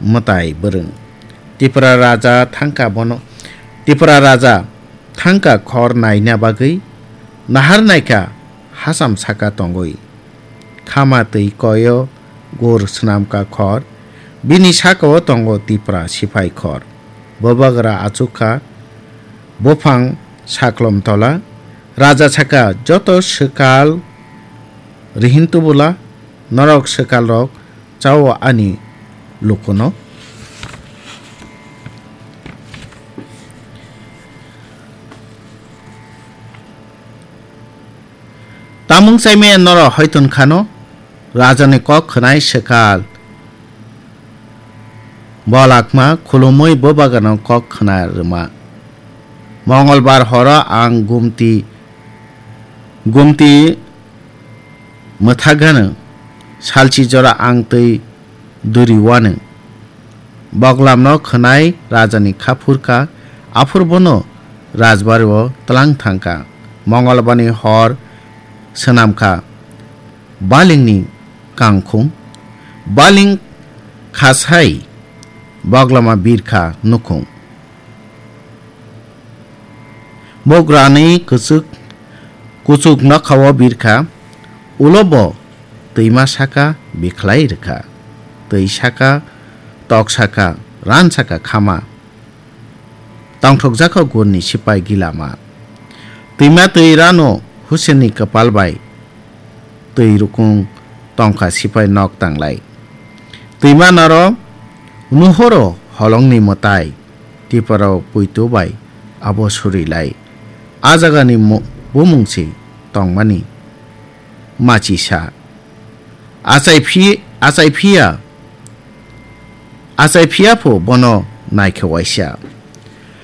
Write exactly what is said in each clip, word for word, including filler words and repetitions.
mwtai bwrwng. Tipra raja thangkha bono, Tipra raja thangkha khor naina bagwi nahar naikha hacham saka tongwi. Khama twi koio gur swnamkha khor, bini sakao tongo Tipra siphai khor. Bubagra achukha buphang saklom tola, raja saka joto swkal rihin tubula, norok swkalrok chao ani lukuno. Tamung chaimaya norok hoiton khano, rajani kok khwnai swkal. Bolakma khulumui bubagano kok khna rwma. Mongolbar horo ang gumti, gumti mwthagano, salchi jora ang twi duri wano. Boglamno khwnai rajani kha phurkha, aphur bono rajbario tlang thangkha. Mongolbarni hor swnamkha. Balingni kangkhung, baling khasai boglama birkha nukhung. Bograni kuchuk, kuchuk nokhao birkha, ulo bo twima saka bikhlai rwkha. Twi saka, tok saka, ran saka khama. Tongthokjakha gurni sipai gilama. Twima twi rano Husenni kwpal bai twi rukung tongkha sipai nok tanglai. Twima naro nuhoro holongni mwtai, tiparo puitu bai abo surilai. A jagani mu-, bumung se tongmani machisa. Achai phi-, achai phiya, achai phiya pho bono naikhe waisa.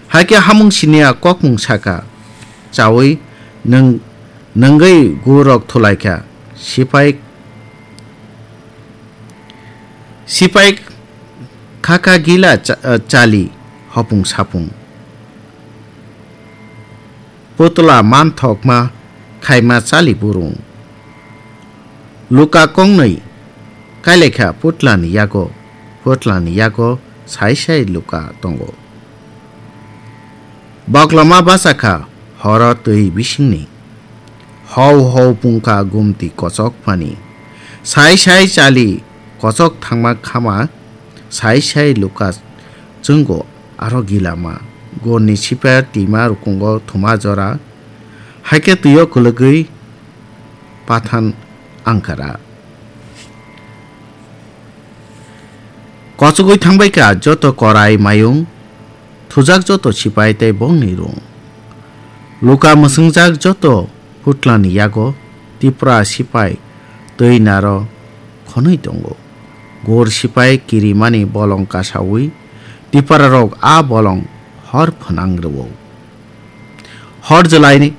Hakhe hamung siniya kokmung saka, chaui nwng-, nwngwi gurok thulaikha, sipai, sipai khakha gila cha-, chali hopung sapung. Putla manthokma khaima chali burung. Luka kongnwi kailaikha putlani yago, putlani yago sai sai luka tongo. Boklama bachakha horo twi bisingni. Hau hau pungkha gumti kochok phani. Sai sai chali kochok thangma khama, sai sai luka chwngo aro gilama. Gorni sipai twima rukungo thuma jora, haikhe twio kwlwgwi pathan angkara. Kochogwi thangbaikha joto korai mayung, thujak joto sipai tei bongni rung. Luka mwswngjak joto putlani yago Tipra sipai twi naro khonwi tongo. Gor sipai kirimani bolong kasaui Tiprarok a bolong hor phwnang rwo. Hor jwlaini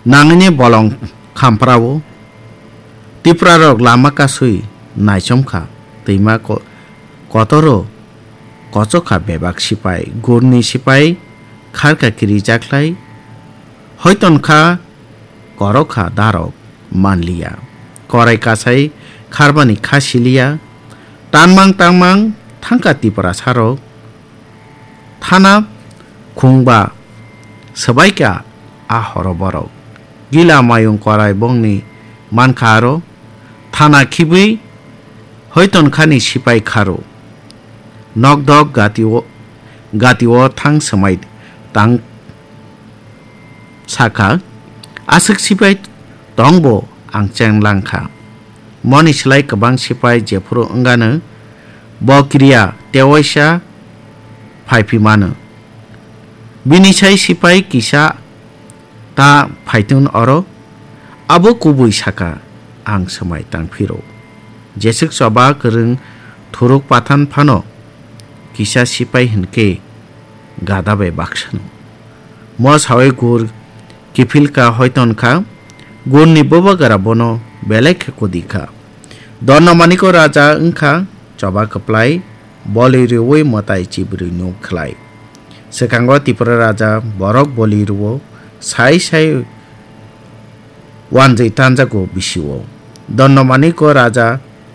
nangni bolong khamprao. Tiprarok lama kasui naichomkha, twima ko-, kotoro kochokha bebak sipai, gurni sipai kharkha kirijaklai, hoitonkha korokha darok manliya, korai kasai kharbani kha siliya, tanmang tangmang thangkha Tiprasarok, thana khungba swbaikha a horo borok. Gila mayung korai bongni mankha aro, thana khibwi hoitonkhani sipai kharo. Nokdok gatio, gatio thang swmai tang sakha, aswk sipai tongbo ang cheng langkha. Moni slai kwbang sipai jephuru wngano bo kiriya tewaisa phaiphimano. Bini sai sipai kisa ta phaitun oro, abo kubui saka ang swmai tangphiro. Jeswk choba kwrwng thuruk pathan phano kisa sipai hinkhe gada bai baksano. Mo sawi gur kiphilka hoitonkha, gurni bubagara bono belai khe kudikha. Dorno maniko raja wngkha choba kwplai, boli rwui mwtai chibrwi nuk khlai. Swkango Tipra raja borok boli rwo, sai sai wanjwi tanjago bisio. Dorno maniko raja